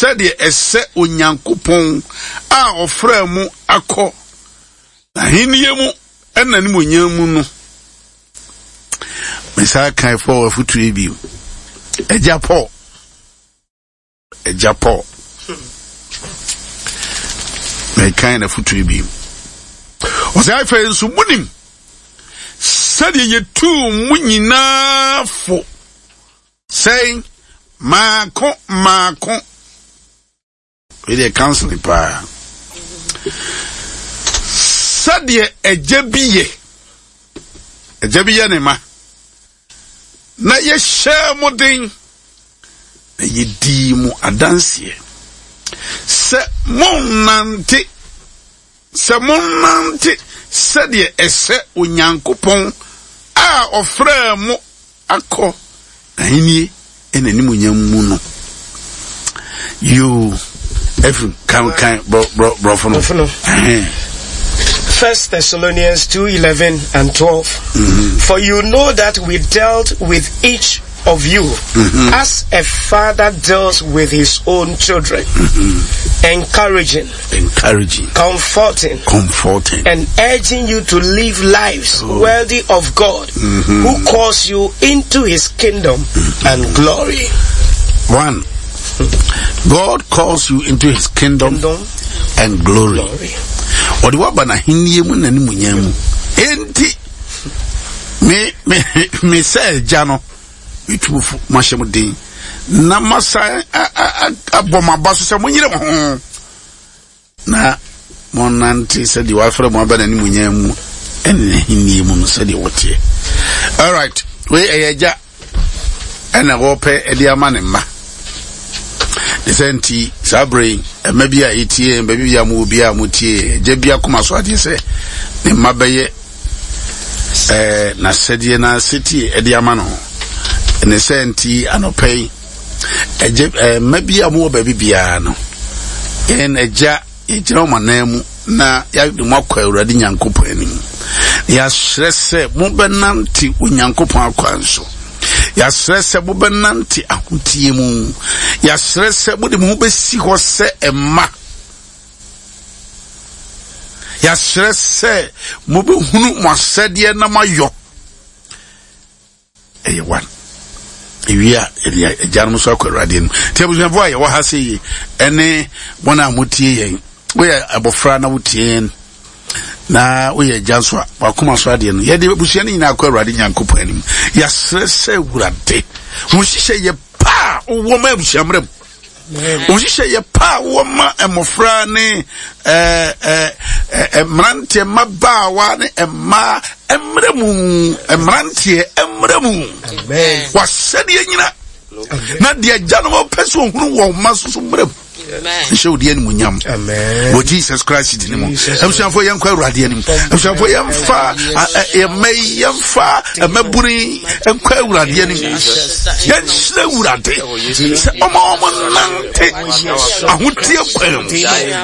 sɛdeɛ ɛsɛ Onyankopɔn a ɔfrɛɛ mo akɔ n'ahennie mu ɛna n'animuonyam mu no. Mesan kan Paul afotuo yi bio. Agya Paul. Agya Paul. Mekan n'afotuo yi bio. Ɔsɛ afei nso monim sɛdeɛ yɛtuu mo nyinaa fo sɛn maako maako. Wei deɛ counseling paa. Sɛdeɛ agya bi yɛ, agya bi yɛ ne ma, na yɛhyɛɛ mo den, na yɛdii mo adanseɛ sɛ monnante, sɛ monnante sɛdeɛ ɛsɛ Onyankopɔn a ɔfrɛɛ mo akɔ n'ahenni ne n'animuonyam mu no. Yoo, Efraim, kan kan borɔfo no. Borɔfo no. First Thessalonians 2:11 and 12. Mm-hmm. For you know that we dealt with each of you mm-hmm. as a father deals with his own children, mm-hmm. encouraging, encouraging, comforting, comforting, and urging you to live lives oh. worthy of God, mm-hmm. who calls you into his kingdom mm-hmm. and glory. One, God calls you into his kingdom, kingdom and glory. Ɔde waba n'ahenni mu na ne mu nyɛ mu. Enti, me me me sɛ agya no, metu fo mahyɛ mo den na masan abɔ mo aba so sɛ monyere mo ho na monnante sɛdeɛ wafrɛ mo aba n'animuonyam mu ɛne n'ahennie mu no sɛdeɛ wɔteɛ. Alright, wei ɛyɛ agya ɛna wɔpɛ ɛde ama ne mma. Ne sɛ nti saa berɛ yi ɛma bi a yɛtie baabi bi a mowɔ bi a motie agya bi akoma so adeɛ sɛ ne mma bɛyɛ ɛɛ n'asɛdeɛ n'asetie ɛde ama no. Ne sɛ nti anɔpɛ yi Agya, eh, mma bi a wɔwɔ baabi biara no, yɛn agya yɛgyina wɔn anan mu na yɛde mo akɔ Awurade Nyankopɔn anim. Yɛasrɛ sɛ mobɛnante Onyankopɔn akwan so. Yɛasrɛ sɛ mobɛnante ahoteɛ mu. Yɛasrɛ sɛ mode mo ho bɛsi hɔ sɛ mma. Yɛasrɛ sɛ mobɛhunu mo asɛdeɛ na moayɔ. Ɛyɛ one. Ewie a, yɛde agyanom nso akɔ Awurade anim. Nti abusuafoɔ a yɛwɔ ha sɛ yi, ɛne wɔn a motie yɛn, woyɛ abɔfra na wotie yɛn, na woyɛ agya nso a, wakoma so adeɛ no, yɛde abusua no nyinaa akɔ Awurade Nyankopɔn anim. Yɛasrɛ sɛ Awurade, wo nhyehyɛ yɛ pa a wowɔ ma abusua mmerɛ mu. Nhyehyɛ yɛ pa a wowɔ ma mmɔfra ne mmeranteɛ, mmabaawa ne mmaa mmerɛ mu, mmeranteɛ mmerɛ mu. Wasɛdeɛ nyina na deɛ agyanom pɛ sɛ ɔhunu wɔn mma so so mmerɛ mu. Nhyɛ wo di animuonyam wɔ Jesus Christ din mu. Abusuafoɔ yɛnkɔ Awurade anim. Abusuafoɔ yɛmfa yɛmma yi yɛmfa mmabunu nkɔ Awurade anim. Yɛnhyerɛ Awurade sɛ ɔma wɔn nante ahoteɛ kwan mu.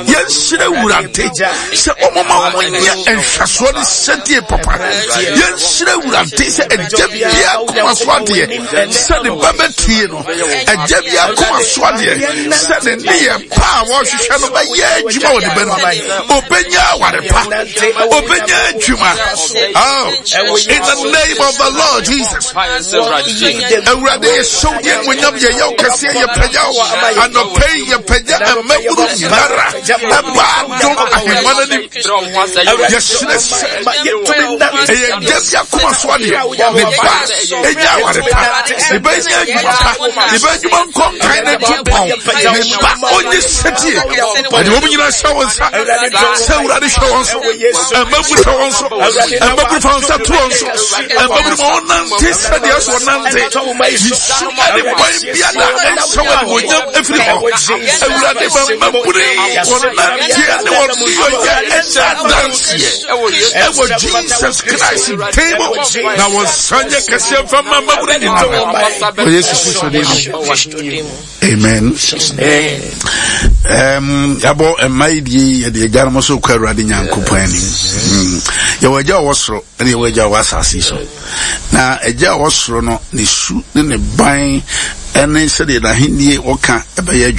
Yɛnhyerɛ Awurade sɛ ɔmoma wɔn nyɛ nhwɛsoɔ ne sɛdeɛ papa. Yɛnhyerɛ Awurade sɛ agya biara koma so adeɛ sɛ ne ba bɛtie no. Agya bi akoma so adeɛ sɛ ne nneyɛ pa a wɔhwehwɛ no bɛyɛ adwuma wɔ ne ba no mu. Obenya aware pa. Obenya adwuma. Oh, in the name of the Lord Jesus. Awurade yɛ hyɛw deɛ nwonyam yɛ yɛw kɛseɛ yɛ pagya wo. Anɔpɛ yi yɛ pagya mmabunu nyinara ɛba adom ahemma no anim. Yɛhyerɛ sɛ ɛyɛ agya bi akoma so adeɛ ne ba ɛnya aware pa ne ba nya adwuma pa ne ba adwuma nkɔ nkan ne nto pɔn ne ba ɔnye sɛtie ɛde wɔn nyinaa hyɛ wɔn nsa sɛ awurade hwɛ wɔn so mmabunu hwɛ wɔn so mmabunu fa wɔn nsa to wɔn so mmabunu ma wɔn nante sɛdeɛ ɛsɛ wɔn nante yesu ɛde bɔn biara ɛnhyɛ wɔn animuonyam efiri hɔ awurade ma mmabunu yi wɔn nanteɛ ne wɔn nneyɔyɛ ɛnyɛ adanseɛ ɛwɔ jesus christ din mu na wɔn nsa nyɛ kɛseɛ mfa ma mmabunu nyinaa wɔ yesu kristo din mu amen. Um, yɛabɔ mma yi die yɛde agyanom so kɔ awurade nyankopɔn anim hmm. yɛwɔ agya a ɔwɔ soro ɛne yɛwɔ agya a ɔwɔ asase so Na Agya a ɔwɔ soro no, ne su ne ne ban ne sɛdeɛ n'ahennie wɔka bɛyɛ adwuma.